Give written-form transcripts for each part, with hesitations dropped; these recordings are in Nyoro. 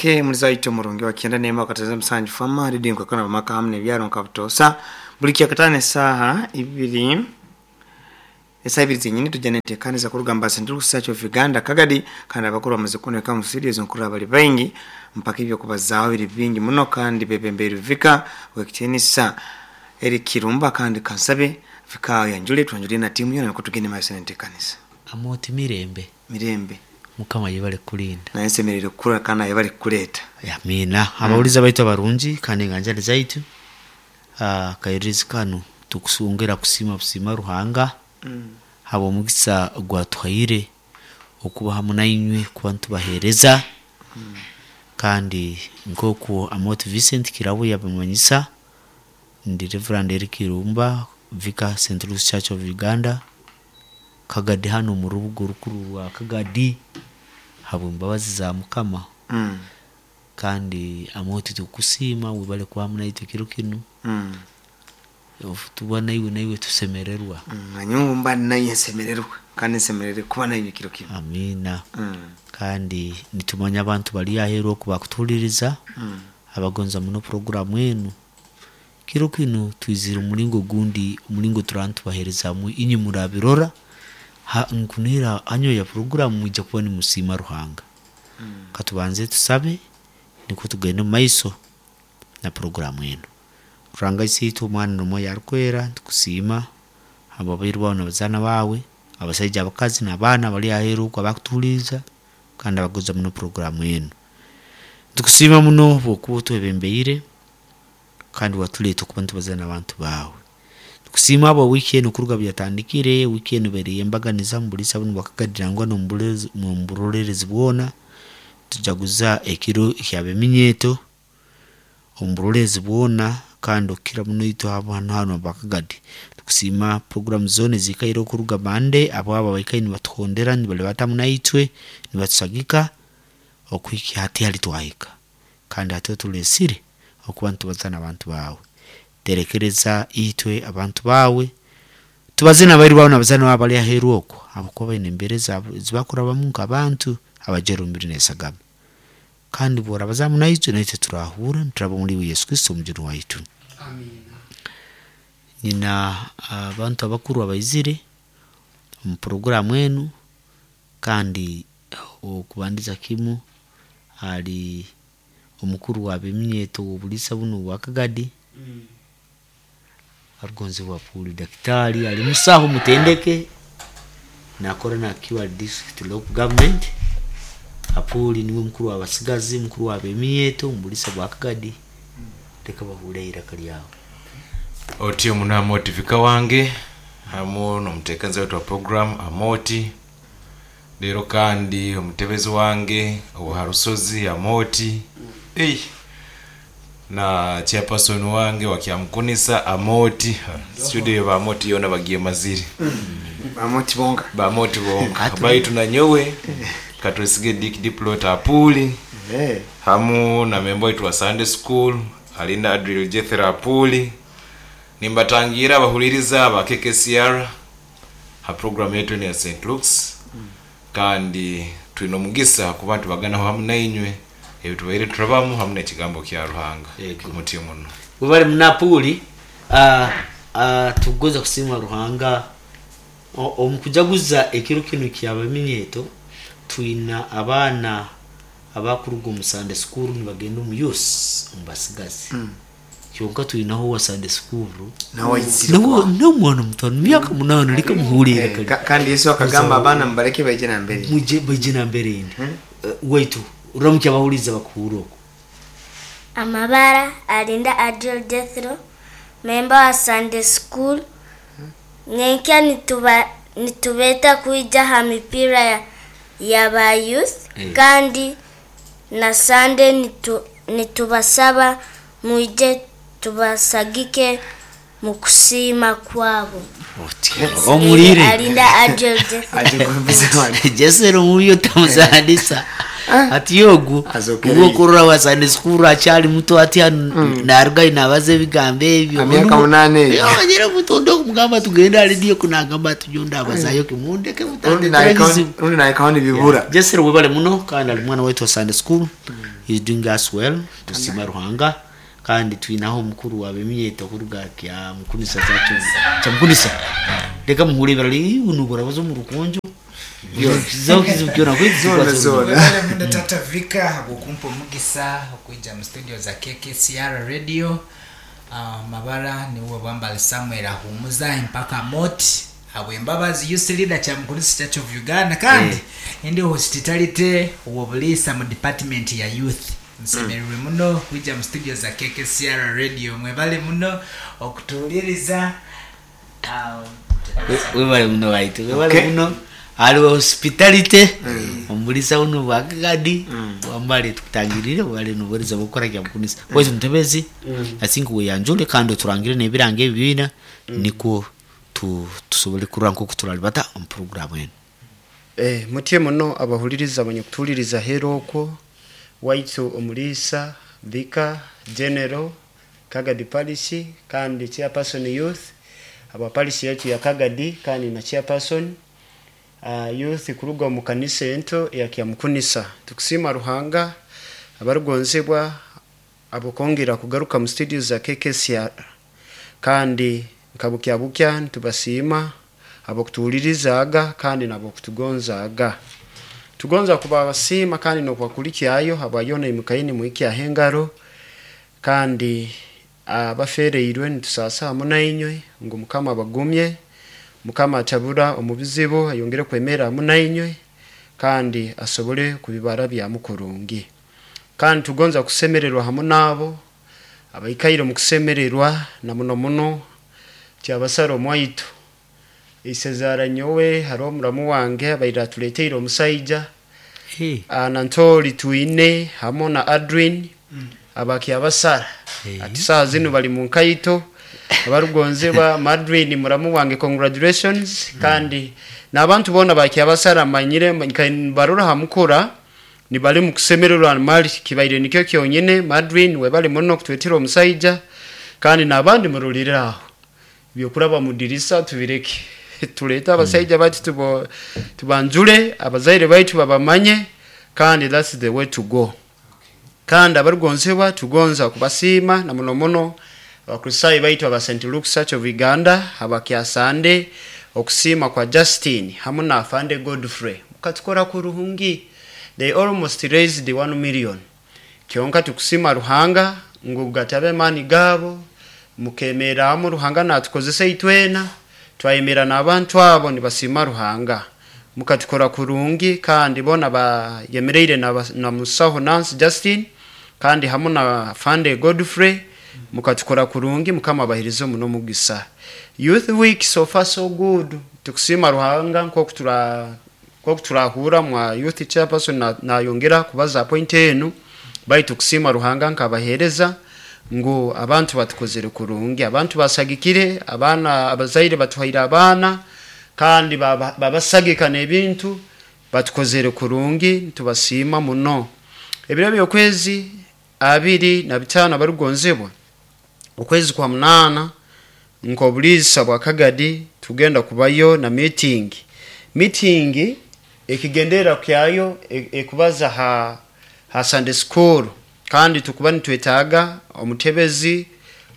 Okay, muliza waitu omurungi wa 91.7 Fama redio nkakona bamaka hamu nebyaro nkabutosa buli kyakatano esaaha ibiri, esaha ibiri zenyini tujja netekaniza kuruga mba Central Church of Uganda Kagadi, kandi abakuru bamaze kuneka mu studio nkuru abali baingi mpaka ibyo kubazaaho biri bingi muno, kandi bebembeire vika wekitinisa eri Kirumba, kandi kansabe vika yanjule twanjule na timu yona niko tugende maaso netekanisa. Amoti mirembe. Mirembe. Mukama yebale kulinda. Naye nsemerere kukura kandi yebale kukuleta. Amina. Abawuliza baitu abarungi kandi enganjani zaitu, kairizi kanu tukusungera kusima busima Ruhanga haba omugisa gwatuhaire okuba hamu nainywe kuba nitubahereza. Kandi nkoku Amoti Vincent Kirabo yabimanyisa, ndi Reverend Eric Kirumba, Vicar St. Louis Church of Uganda Kagadi, hano mu rubuga orukuru rwa Kagadi habw'embabazi za Mukama. Kandi Amoti tukusiima webale kuba hamu naitwe kiro kinu. Tuba naiwe naiwe tusemererwa. Nanyowe mba naye nsemererwa kandi nsemerere kuba naiwe kiro kinu. Amina. Kandi nitumanya abantu bali aheru oku bakutuhuliriza, abagonza muno programu enu. Kiro kinu twizire omulingo gundi, omulingo turaba nitubaherezamu inywe murabirora. Nkunihira hanyuma ya programu mwija kuba nimusiima Ruhanga. Katubanze tusabe nikwo tugende omu maiso na programu enu. Ruhanga Isiitwe, Omwana n'Omwoyo Arukwera, tukusiima habw'abairu bawe n'abazaana bawe, abasaija, abakazi n'abaana abali aheeru oku abakutuhuliiriza kandi abagonza muno programu enu. Tukusiima muno habwokuba otwebembeire kandi watuleeta okuba nitubaza n'abantu baawe. Tukusiima habwa wiiki enu kuruga obu yatandikire, wiiki enu ebaire y'embaganiza omu buliisa bunu bwa Kagadi nangwa n'omu buroleerezi bwona. Tujaguza ekiro eky'abeminyeeto omu buroleerezi bwona kandi okukira muno itwe hanu hanu aba Kagadi. Tukusiima programu zoona eziikaire okuruga Monday, abo abo abaikaire nibatuhondera nibalibatamu naitwe nibatusagika okuhikya hati hali twahika. Kandi hati otuleesire okuba nitubaza n'abantu baawe. Terekereza itwe abantu baawe, tubaze n'abairu baawe n'abazaana baawe abali aheeru okwo, habwokuba baine embeera ezibakurabamu nk'abantu abajwaire omubiri n'esagama. Kandi bw'orabazaamu naitwe, naitwe turahurra nituraba omuli iwe Yesu Kristo omujuni waitu. Nyina abantu abakuru abaizire omu programu enu, kandi okubandiza kimu ali omukuru w'abeminyeeto w'obuliisa bunu obwa Kagadi, arugonzebwa Apuuli daktari, ali musaho mutendeke, nakora na QR district local government. Apuuli niwe mukuru w'abasigazi, mukuru w'abeminyeeto omu buliisa bwa Kagadi. Leka bahuure iraka lyawe. Otyo muno Amoti Vika wange hamu n'omuteekaniza waitu wa program Amoti, leero kandi omutebezi wange owa Rusozi Amoti, ei na chairperson wange wa Kyamukunisa Amoti, studio ba Amoti yoona bagyemazire. Bamoti bonka. Bamoti bonka. Baitu nanyowe katwesige Dick Diplot Apuuli hamu na memba waitu wa Sunday School Alinda Adriel Jethero Apuuli. Nimbatangiira abahuliriza aba KKCR ha program yaitu enu ya St. Luke's, kandi twine omugisa kuba nitubaganaho hamu nainywe ebitubaire turabamu hamu n'ekigambo kya Ruhanga. Ego. Mutyo muno. Webale muno Apuuli. Tukugonza kusiima Ruhanga omu kujaguza ekiro kinu ky'abaminyeeto. Twina abaana abakuruga omu Sunday school nibagenda omu youth omu basigazi. Kyonka twinaho owa Sunday school Nawe aizire nawe kwaha. n'omwana muto myaka 8, leka muhuure iraka lye. Kandi Yesu akagamba abaana mubaleke baije nambere. Mwije baije nambere indi. Waitu uramukya abahuliiriza bakuhuura oku. Amabara Alinda Adriel Jethro, memba wa Sunday School. Nyenkya nitubeeta kwija ha mipiira ya ba youth, kandi na Sunday nitubasaba mwije tubasagike mu kusiima kwabo. Omulire. Alinda Adriel Jethro. Jesero mubi otamuzanisa ati ogu Azokere. ogwokurora wa Sunday school akyali muto ati narugayo nabaza ebigambo ebyo. Amyaka 8 eyo. Amanyire mutondo okumugamba tugende ali kunagamba ati nyowe ndabazayo kimundeke mutandetera ebizibu. Rundi naikaho nibibura. Jesero webale muno, kandi ali mwana waitu wa Sunday school. He's doing us well. Tusima Ruhanga. Kandi twinaho omukuru wabemyeto kuruga kya Mukunisa zacho kya Mukunisa. Leka muhure birali unubura bazo mu rukunjo zao kizibu kyona kwe. Zona, zona. Webale muno Tata Vika okumpa omugisa okwija mu studio za KKCR Radio. Mabara niwe Bwambali Samuel ahumuza mpaka mot abwembabazi youth leader kya Mukunisa Church of Uganda, kandi ndi hospitality wobulisa mu department ya youth. Nsemererwe muno kwija mu studio za KKCR Radio. Mwebale muno okutuwuliriza. Webale muno waitu, webale muno. Aliwo hospitality omulisa uno bwakagadi wambale tukutangirire wale nubuhereza bukora kya Mukunisa waitu mutebezi. I think weyanjule kandi oturangire n'ebiranga ebibiina nikwo tusobole kurora nkoku turalibata omu programu enu. Mutye muno abahuliriza abanyakutuhuliriza heru okwo. Waitu omulisa Vika General Kagadi Parish kandi chairperson youth aba parish yetu ya Kagadi, kandi na chairperson youth kuruga mu kanisa ento ya Kyamukunisa. Tukusima Ruhanga, abarugonzebwa, abokongera kugaruka mu studio za KKCR, kandi nkabukya bukya ntubasiima abokutuwulirizaga kandi nabokutugonzaga. Tugonza kubabasiima kandi nokubakulikyayo habwayona imukaini muikyaho engaro, kandi abafereirwe nitusasa hamu nainywe ngu Mukama abagumye, Mukama atabura omu bizibu, ayongere kwemera hamu nainywe kandi asobole kubibara byamu kurungi. Kandi tugonza kusemererwa hamu nabo abaikaire omu kusemererwa, na muno muno kyabasara omwaitu isezara nyowe. Hariho omuramu wange abaire atuleteire omusaija. Hey. Nantori twine hamu na Adwin abakyabasara. Ati saha zinu bali mu nkaito. Abarugonzebwa, Madwin muramu wange, congratulations. Kandi n'abantu bona bakyabasara manyire barora hamukura nibali mu kusemererwa mali kibaire nikyo kyonyine. Madwin, webali muno kutwetera omusaija, kandi n'abandi murulire aho byokuraba mu dirisa tubireke, tulete abasaija bati tubanjule abazaire baitu babamanye, kandi that's the way to go. Kandi abarugonzebwa, tugonza kubasiima na muno muno Abakristaayo baitu aba St Luke Church of Uganda abakyasande okusiima kwa Justin hamu na Afande Godfrey. Mukatukora kurungi. They almost raised 1 million. Kyonka tukusima Ruhanga ngu gatabe mani gabo, mukemeramu Ruhanga natukozesa itwena twayemera n'abantu abo nibasima Ruhanga. Mukatukora kurungi, kandi bona bayemereire na musaho Nancy Justin kandi hamu na Afande Godfrey. Mukatukora kurungi, Mukama abahirize muno mugisa. Youth week so far so good. Tukusima Ruhanga nkoku turahura mwa youth chairperson nayongera kubaza point enu, baitu kusima Ruhanga nkabahereza ngu abantu batukozere kurungi, abantu basagikire abaana, abazaire batuhaire abaana kandi babasagika n'ebintu. Batukozere kurungi, tubasiima muno. Ebiro by'okwezi 25, abarugonzebwa, okwezi kwa munana, nk'obuliisa bwa Kagadi tugenda kubayo na meeting. Meeting ekigendera kyayo ekubaza ha Sunday school, kandi tukuba nitwetaaga omutebezi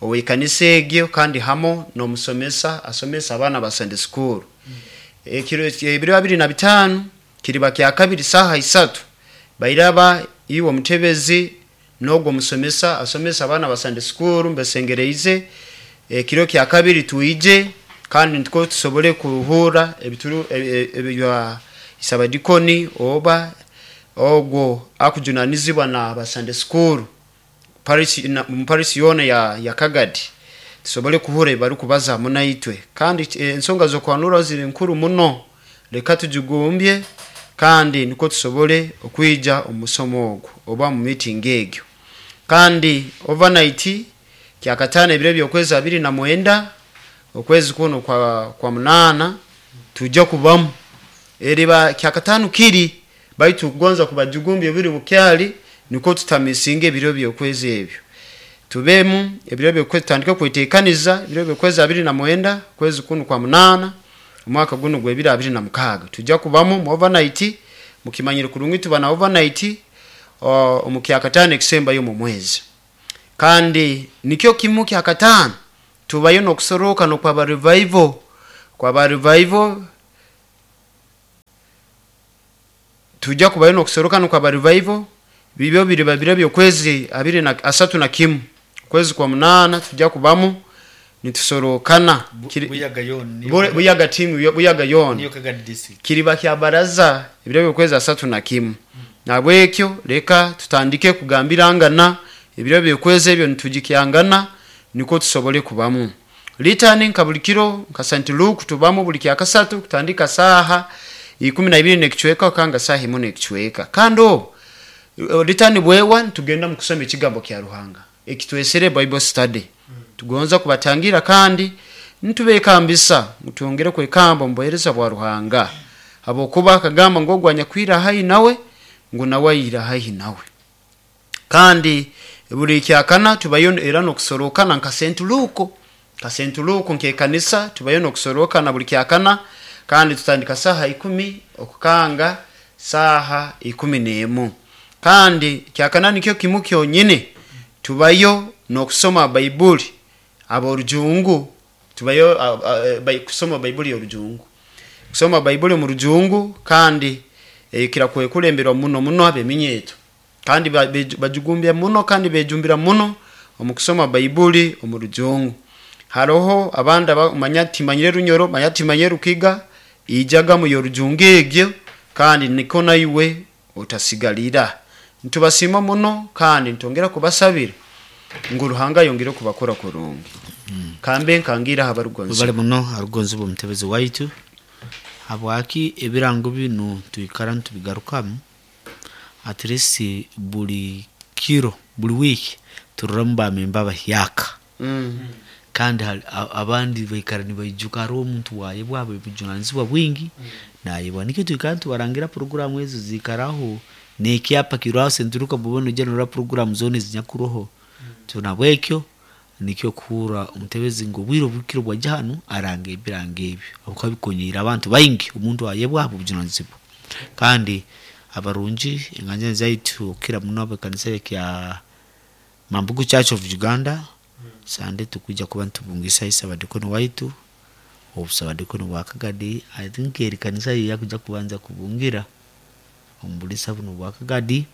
ow'ekanisa egyo kandi hamo n'omusomesa asomesa abaana ba Sunday school. Ekiro ebiro 25 kiriba kya kabiri saha 3 bairaba iwe omutebezi n'ogwo omusomesa asomesa abaana ba Sunday school. Mbesengereize ekiro kya kabiri tuije kandi nitwo tusobole kuhura ebituru ebya isabadikoni oba ogwo akujunanizibwa na ba Sunday school parish mu parish yona ya Kagadi, tusobole kuhura bari kubaza munaitwe. Kandi ensonga zokwanura ziri nkuru muno, leka tujigumbye kandi niko tusobole okwija omusomo ogwo oba mu meeting egyo. Kandi overnight kyakatano ebiro by'okwezi 29 okwezi kuno kwa munana tujja kubamu eriba kyakatano kiri, baitu kugonza kubajugumbya biri bukyali niko tutamisinga ebiro by'okwezi ebyo. Tubemu ebiro by'okwezi, tutandike kwetekaniza ebiro by'okwezi 29 kwezi kuno kwa munana omwaka guno gw'ebiri 26 tujja kubamu mu overnight. Mukimanyire kurungi tuba na overnight. omu kyakataano ekisembayo mu mwezi. Kandi nikyo kimu kyakataano tubayo n'okusorokana okwaba revival, kwaba revival tujja kubayo n'okusorokana kwaba revival bibyo biriba biro by'okwezi 31, kwezi kwa 8 tujja kubamu nitusorokana. Buyaga yona. Buyaga team Buyaga yona niyo Kagadi district. Kiriba kya baraza ebiro by'okwezi 31. Nabwekyo leka tutandike kugambirangana ebiro by'okwezi ebyo nitugikyangana niko tusobole kubamu. Litani nka buli kiro nka St. Luke tubamu buli kyakasatu kutandika saha 12 n'ekicweka kanga saha 1 n'ekicweka. Kandi obu litani bwewa tugenda mu kusoma ekigambo kya Ruhanga ekitwesere Bible study. Tugonza kubatangira kandi ntubekambisa mutwongere kwekamba mu buheereza bwa Ruhanga, habwokuba akagamba ngo ogwanya kwira haihi nawe ngu nawe ayira haihi nawe. Kandi buli kyakana tubayo era n'okusorokana nka St. Luke, nka St. Luke nk'ekanisa tubayo n'okusorokana buli kyakana, kandi tutandika saha 10 okukanga saha 11. Kandi kyakana nikyo kimu kyonyine tubayo n'okusoma Baibuli aborujungu, tubayo kusoma Baibuli y'orujungu, kusoma Baibuli mu rujungu, kandi ekira kwekulemberwa muno muno abeminyeto, kandi bajugumbya muno kandi bejumbira muno omu kusoma Baibuli omu rujungu. Haroho abandi manya timanyire Runyoro, manya timanyire Rukiga, ijaga mu yorujungu egyo, kandi niko naiwe otasigalira. Ntubasima muno kandi ntongera kubasabira ngu Ruhanga yongere kubakora kurungi. Kambe nkangira habarugonzi bale muno arugonzi bw'omutebezi waitu. Habwaki ebirango binu twikara ntubigarukamu at least buli kiro buli wiki tururamu bamemba bahyaka. Kandi abandi baikara nibaijuka hariho omuntu wayebwa obujunanizibwa bwingi nayebwa. Nikyo twikara tubarangira programu ezo ziikaraho n'ekyapa kiraho senturuka bubona ojja norora programu zoona ezinyakuroho. Tunabwekyo nikyo kuhura omutebezi ngu obwire obukiro bwajja hanu aranga ebirango ebyo habwokuba bikonyeire abantu baingi omuntu ayebwa obujunanizibwa. Kandi abarungi enganja zaitu okukira muno abekanisa ekya Mambugu Church of Uganda, Sande tukuja kuba ntubungisa isabadikono waitu obusabadikono bwa Kagadi. I think eri kanisa yakuja kubanza kubungira omubulisa buno bwa Kagadi,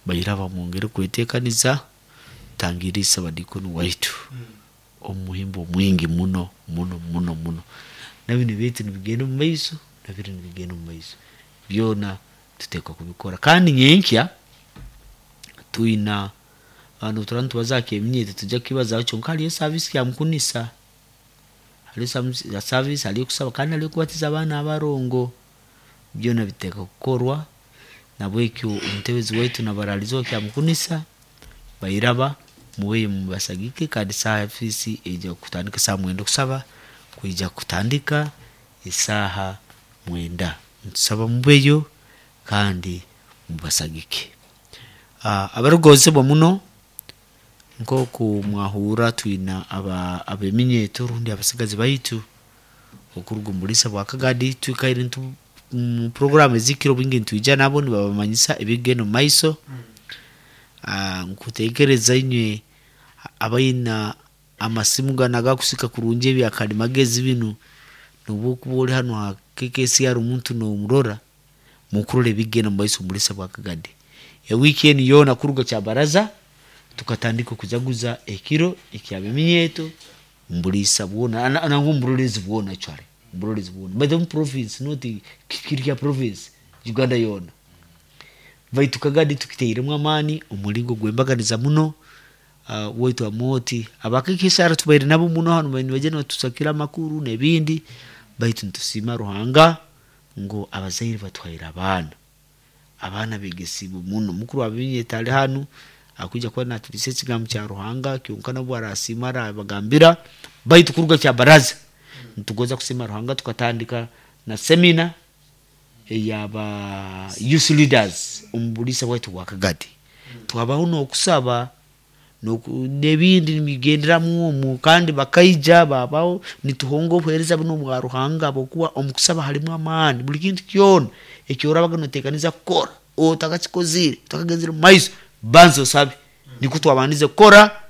bayira bamwongere kwetekaniza tangira isabadikono waitu omuhimbo mwingi muno muno muno muno. Nabino bitu nibigenda omu maiso, nabino nibigenda omu maiso, byona tuteekwa kubikora. Kandi nyenkya twina abantu turaba nitubazaako eminyeeto tujja kukibazaho kyonka hariyo service ya mukunisa, hariyo service, hariyo kusaba kandi hariyo kubatiza abaana abarongo, byona biteekwa kukorwa. Nabwekyo omutebezi waitu nabaraliza kya mukunisa bairaba muweye mubasagike. Kandi service ejja kutandika saa 9 kusaba kwija kutandika esaaha 9. Ntusaba mubeyo kandi mubasagike. Abarugozebwa muno nkoku mwahura twina abeminyeeto rundi abasigazi baitu okuruga omu bulisa bwa Kagadi. Twikaire mu programu ezikiro bwingi ntwija nabo nibabamanyisa ebigenda omu maiso. Nkuteekereza inywe abaina amasimu ganu agakusika kurungi ebyakalimagezi binu, nobu okuba ori hanu ha KKCR omuntu nomurora mukurora ebigenda omu maiso omu bulisa bwa Kagadi. Ewiiki enu yoona kuruga kyabaraza tukatandika okujaguza ekiro ekyabeminyeeto mbulisa bwona nangwa omuburolezi bwona, actually omuburolezi bwona by the province, not kiri kya province, Uganda yoona. Baitu Kagadi tukiteiremu amaani omulingo gwembaganiza muno. Waitu amoti abakikisara tubaire nabo muno hanu nibaija nibatusakira amakuru n'ebindi, baitu nitusiima Ruhanga ngu abazaire batwaire abaana, abaana begesibwe muno. Mukuru w'abeminyeeto ali hanu akuija kuba natulisa ekigambo kya Ruhanga kyonka nabwo arasiima arabagambira. Baitu kuruga kyabaraza nitugonza kusiima Ruhanga tukatandika na semina eyaba youth leaders omu bulisa bwaitu bwa Kagadi. Twabaho n'okusaba n'ebindi nibigenderamu omu, kandi bakaija babaho nituhonga obuheereza buno bwa Ruhanga, habwokuba omu kusaba harimu amaani. Buli kintu kyona ekyorabaga noteekaniza kukora Otakakikozire, otakagenzere mu maiso, banza osabe. Nikwo twabandize kukora.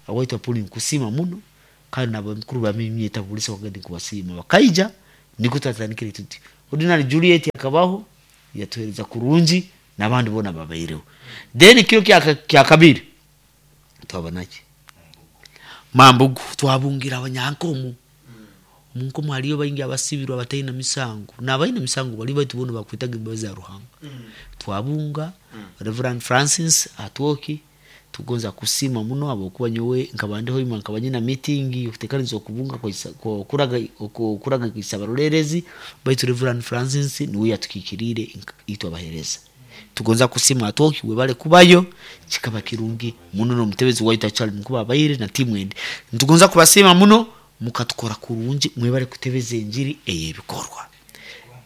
Awaitu apuli nkusima muno, kandi nabamukuru bamimyeta bulisa wakati nkubasiima bakaija. Nikwo twatandikire tuti. Ordinary Juliet akabaho, yatuhereza kurungi, n'abandi bona babaireho. Then kiro kya kabiri twaba naki Mambugu, twabungira abanyankomo. Omunkomo haliyo baingi abasibirwe abataina misango, n'abaina misango bali, baitu boona bakwitaga embabazi za Ruhanga. Twabunga Reverend Francis Atwoki. Tugonza kusima muno habwokuba nyowe nkaba ndiho ima, nkaba nyina meeting yokuteekaniza okubunga okuraga kwisa abarolerezi, baitu Reverend Francis niwe yatukikiriire itwe abahereza. Tugonza kusima Atwoki, webale kubayo, kikaba kirungi muno. N'omutebezi waitu akyali mukuba abaire na timu endi, nitugonza kubasiima muno, mukatukora kurungi. Mwebale kutebeza enjiri ey'ebikorwa.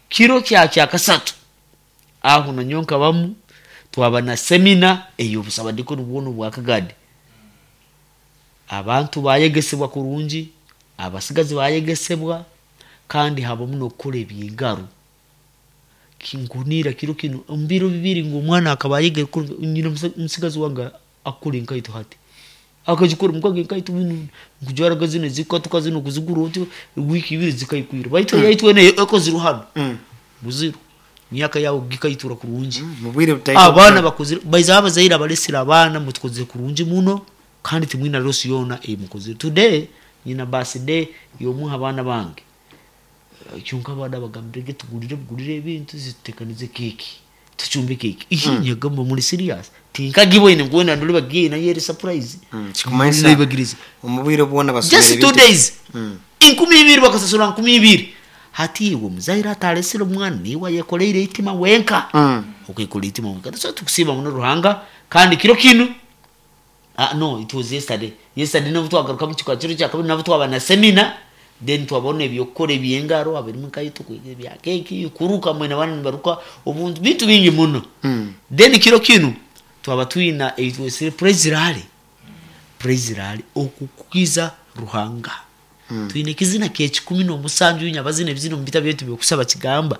Kiro kya kasatu aho nanyowe nkabamu, twaba na semina ey'obusabadikoni bwona obwakagadi. Abantu bayegesebwa kurungi, abasigazi bayegesebwa, kandi habamu n'okukora ebyengaro. Kinkunira kiro kino omu biro 2 ngu omwana akaba ayegere. Nyina omusigazi wange akukora enkaito, hati akagikora mukaga enkaito binu nkujwaraga zino zikatuka zino kuzigura otyo wiiki 2 zikaikwira, baitu yaitu ene ekozirwe hano buziru myaka yawe gikaitura kurungi. Mubwire butaito. Abaana bakozire baiza, abazaire abalesire abaana, mutukozire kurungi muno, kandi timwina loss yona emukozire. Today nyina birthday yomuha abaana bange. Kyonka abaana bagambire ge tugulire bugulire ebintu, zitutekanize keki, tucumbe keki. Nyagamba muri serious? Tinkagiboine nkuwena ndoli bagiye nayo eri surprise. Kikumanyisa Nibagirize. Omubwire bwona basomere Just 2 ebintu- days, 2000 bakasasura 2000. Hati iwe muzaire atalesire omwana, niwe ayekoleire itima wenka. Okwekola itima wenka. So tukusiima muno Ruhanga. Kandi kiro kinu, no, it was yesterday. Yesterday nabo twagaruka mu kikwa kiro kya kabiri, nabo twaba na semina. Then twabona ebyokukora ebyengaro, abirimu nkaito bya keki, kuruka mwena bana nibaruka obuntu, bintu bingi muno. Then kiro kinu twaba twina eitwesire praise rally, praise rally okukukiza Ruhanga. Twine ekizina kye 17 nyabazina ebizina omu bita byaitu byokusaba kigamba.